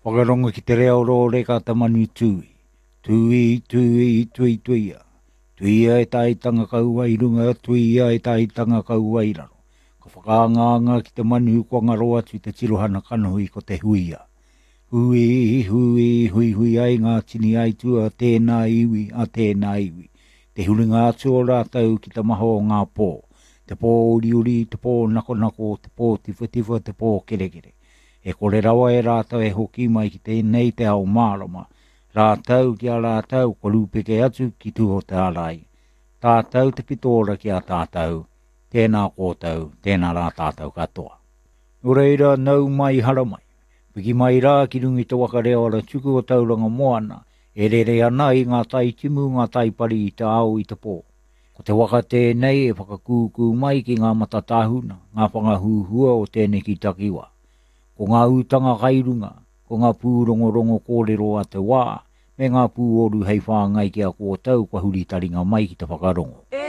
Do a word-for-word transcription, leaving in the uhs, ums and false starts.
Whakarongo ki te reo rōreka te manu tūī. Tūī, tūī, tui tuia. Tuia e taitanga kaua i runga, tuia e taitanga kaua i raro. Ka whakaangaanga ki te manu kua ngaro atu te tirohana kanohi ko te huia. Hui, hui, hui hui ai ngā tini aitua tēnā iwi a tēnā iwi. Te huringa atu o rātou ki te maha o ngā pō. Te pō uriuri, te pō nakonako, te pō tiwhatiwha, te pō kerekere. E kore rawa e rātou e hoki mai ki tēnei te ao mārama. Rātou ki a rātou kua rūpeke atu ki tuho te arai. Tātou te pitora ki a tātou, tēnā kōtou, tēnā rā tātou katoa. Nō reira, nau mai hara mai. Piki mai rā ki runga i te waka reo ara tuku o Tauranga Moana, e rere ana i ngā tai timu, ngā tai pari i te ao i te pō. Ko te waka tēnei e whakakūkū mai ki ngā matatāhuna, ngā whangahuhua o tēneki takiwā. Ko ngā utanga kai runga, ko ngā pūrongorongo kōrero a te wā, me ngā pūoru hei whāngai ki a kōtou kua huri taringa mai ki te whakarongo. E